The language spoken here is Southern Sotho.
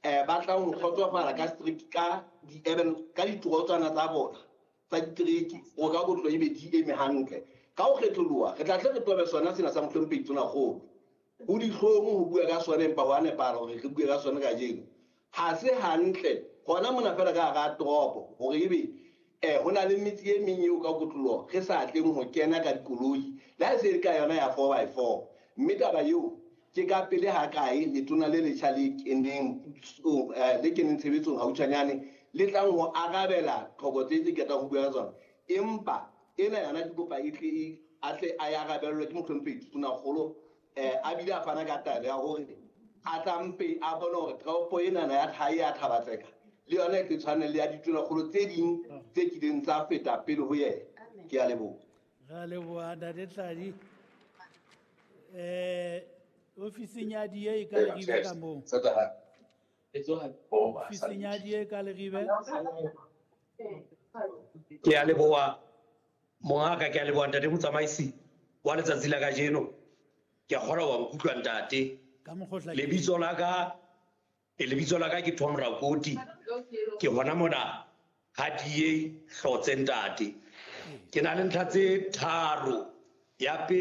Ba tlang ho kgotsofala ka street ka di-urban ka ditorotswana tsa bona tsa ditereke hore ka kotlo ebe di eme hantle. Ka ho kgetholoha re tla tle re tobe sona sena sa Mohlomphehi Tonakgolo. Ho dihlong ho bua ka sona empa ho a nepahala hore re bue ka sona kajeno. Ha se hantle hona mona feela ka hara toropo hore ebe ho na le metse e meng eo ka kotloloho re sa tleng ho kena ka dikoloi le ha e se e le ka yona ya 4x4. Mme taba eo ke ka pele ha kae letona le letjha le keneng pusong le keneng tshebetsong hautshwanyane le tlang ho arabela tlhoko tse tse qetang ho bua ka tsona. Empa ena yona ke kopa e tle e a tle a e arabellwe ke Mohlomphehi Tonakgolo a bile a fana ka taelo ya hore a tla mpe a bone hore toropo enana ya hae ya Thaba-Tseka le yona e tle tshwane le ya ditonakgolo tse ding tse kileng tsa feta pele ho yena. Ke a leboha. Re a leboha Ntate Tladi. Ofising ya DA e ka Leribe ka moo. Ofising ya DA ka Leribe. Ke a leboha mongaka, ke a leboha ntate motsamaisi wa letsatsi la kajeno. Ke a kgona wa nkutlwa ntate. Ka mokgotla. Lebitso la ka ke Tom Rakoti. Ke hona mona ha DA Hlotse ntate. Ke na le ntlha tse tharo. Ya pele